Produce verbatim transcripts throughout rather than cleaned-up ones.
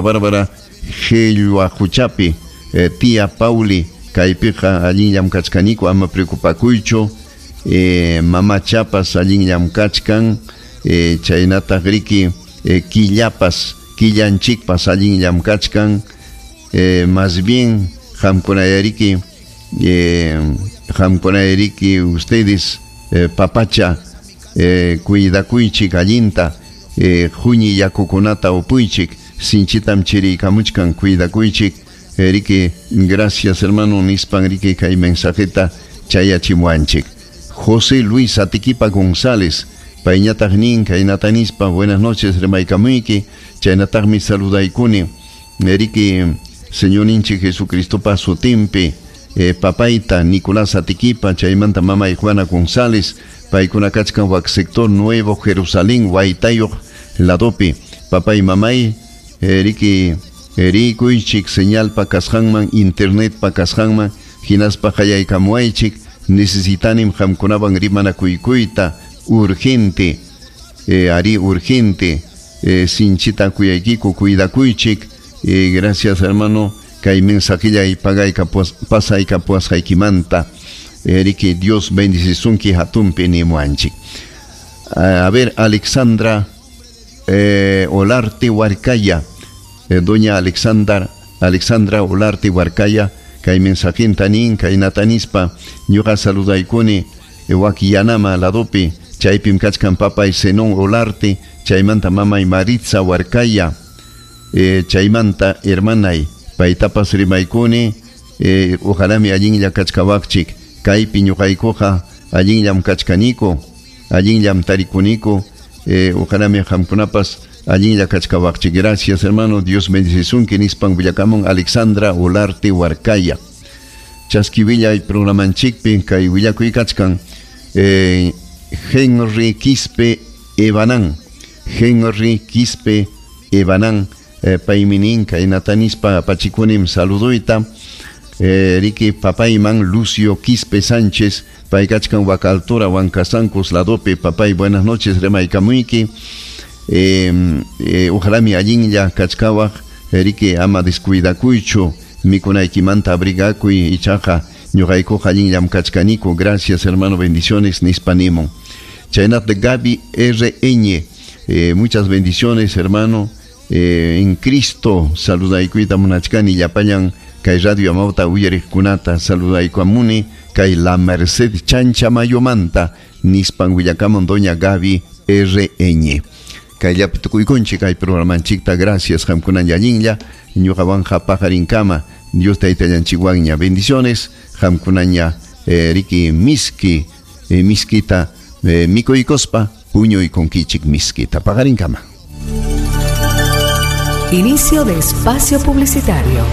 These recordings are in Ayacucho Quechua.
Bárbara Qillwaquchapi, eh, tía Pauli, kaypiqa allinllam kachkaniku, ama preocupakuychu, eh, mamachapas allinllam kachkan, eh, chaynataq riki eh, killapas, killanchikpas allinllam kachkan, eh, más bien qamkunayariki, eh, qamkunayariki ustedes eh, papacha, eh, cuidakuychik allinta, eh, huñi yakukunata upuychik, sinchitam chiriykamuchkan, cuidakuychik, eh, riki, gracias hermano nispan riki kay mensajeta chayachimuanchik. José Luis Atiquipa González, payñataq nin kaynata nispa, buenas noches rimaykamuyki, chaynataqmi saludaykuni, riki Señorninchik Jesucristopa sutinpi, eh, papayta Nicolás Atiquipa, chaymanta mamay Juana González, paykuna kachkan wak sector Nuevo Jerusalén, Huaytayuq ladopi, papay mamay, eh, riki rikuychik señalpa kasqanman, internetpa kasqanman, hinaspa qallaykamuwaychik, necesitanim qamkunawan rimanakuykuyta urgente, eh, ari urgente, eh, sinchita kuyaykiku, cuidakuychik, eh, gracias hermano, kay mensajillay pagaykapuas, pasaykapuasqaykimanta, eh, riki Dios bendicisunki hatunpi nimuanchik. A ver, Alexandra eh, Olarte Huarcaya, eh, doña Alexandra, Alexandra Olarte Huarcaya, kay mensajinta nin, kaynata nispa, ñuqa saludaykuni, eh, wak Yanama ladopi, chaypim kachkan papay Zenón Olarte, chaymanta mamay Maritza Huarcaya, eh, chaymanta hermanay, paytapas rimaykuni, eh, ojalami allinlla kachkawaqchik, kaypi ñuqaykuqa allinllam kachkaniku, allinllam tarikuniku, eh, ojalami qamkunapas allinlla kachkawaqchik. Gracias hermano, Dios bendicisunki nispan willakamun Alexandra Olarte Huarcaya. Chaski willay programanchikpi kay willakuy kachkan, eh, Henry Quispe Evanán, Henry Quispe Evanán, eh, paymi nin kaynata nispa apachikunim saluduyta, eh, riki papayman Lucio Quispe Sánchez, pay kachkan wak altura Huancasancos ladopi, papay buenas noches rimaykamuyki, eh, eh, ojalami allinlla kachkawaq, riki ama descuidakuychu, mikunaykimanta abrigakuy, ichaqa ñuqaykuqa allinllam kachkaniku, gracias hermano, bendiciones nispa nimun. Chaynat Gaby R Ñ, eh, muchas bendiciones hermano, eh, en Cristo saludaykuyta munachkani llapallan kay Radio Amauta uyariqkunata saludaykuamuni kay La Merced Chancha Mayomanta nispan willakamun doña Gaby R Ñ. Kayllapi tukuykunchik kay programanchikta, gracias qamkunan allinlla ñuqawanqa paqarinkama, Dios taytallanchikwanña, bendiciones qamkunaña, eh, riki miski, eh, miskita, eh, mikuykuspa puñuykunkichik miskita, paqarinkama. Inicio de espacio publicitario.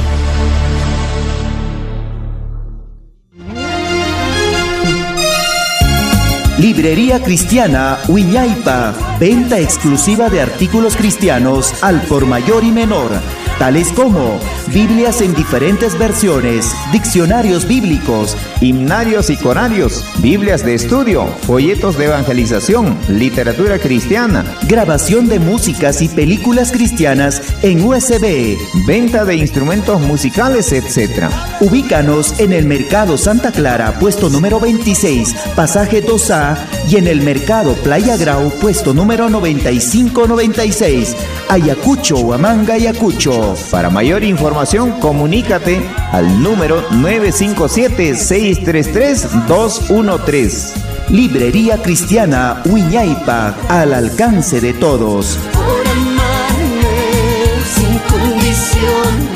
Librería Cristiana Wiñaypa, venta exclusiva de artículos cristianos al por mayor y menor, tales como Biblias en diferentes versiones, diccionarios bíblicos, himnarios y corarios, Biblias de estudio, folletos de evangelización, literatura cristiana, grabación de músicas y películas cristianas en U S B, venta de instrumentos musicales, etcétera. Ubícanos en el Mercado Santa Clara, puesto número veintiséis, pasaje dos A, y en el Mercado Playa Grau, puesto número noventa y cinco noventa y seis, Ayacucho, Huamanga, Ayacucho. Para mayor información, comunícate al número nueve cinco siete, seis tres tres, dos uno tres. Librería Cristiana Wiñaypa, al alcance de todos. Por amarme sin condiciones.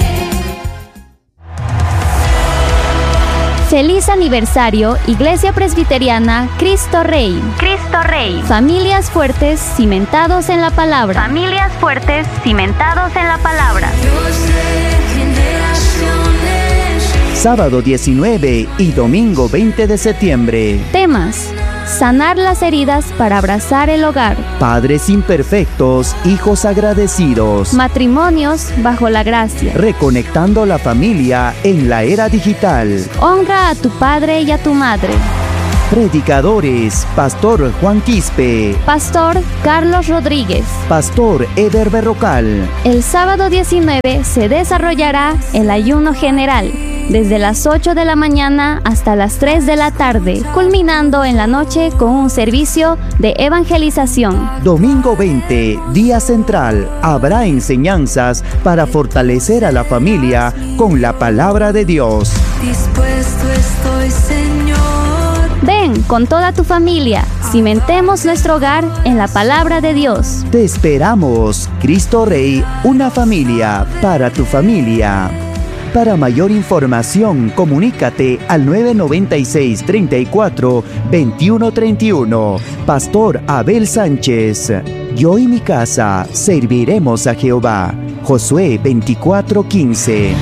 Feliz aniversario, Iglesia Presbiteriana Cristo Rey. Cristo Rey. Familias fuertes, cimentados en la palabra. Familias fuertes, cimentados en la palabra. Dios de generaciones. Sábado diecinueve y domingo veinte de septiembre. Temas: sanar las heridas para abrazar el hogar. Padres imperfectos, hijos agradecidos. Matrimonios bajo la gracia. Reconectando la familia en la era digital. Honra a tu padre y a tu madre. Predicadores, Pastor Juan Quispe, Pastor Carlos Rodríguez, Pastor Eder Berrocal. El sábado diecinueve se desarrollará el ayuno general, desde las ocho de la mañana hasta las tres de la tarde, culminando en la noche con un servicio de evangelización. Domingo veinte, día central, habrá enseñanzas para fortalecer a la familia con la palabra de Dios. Dispuesto estoy, Señor. Ven con toda tu familia, cimentemos nuestro hogar en la palabra de Dios. Te esperamos, Cristo Rey, una familia para tu familia. Para mayor información, comunícate al nueve noventa y seis, treinta y cuatro, veintiuno treinta y uno. Pastor Abel Sánchez. Yo y mi casa serviremos a Jehová. Josué veinticuatro quince.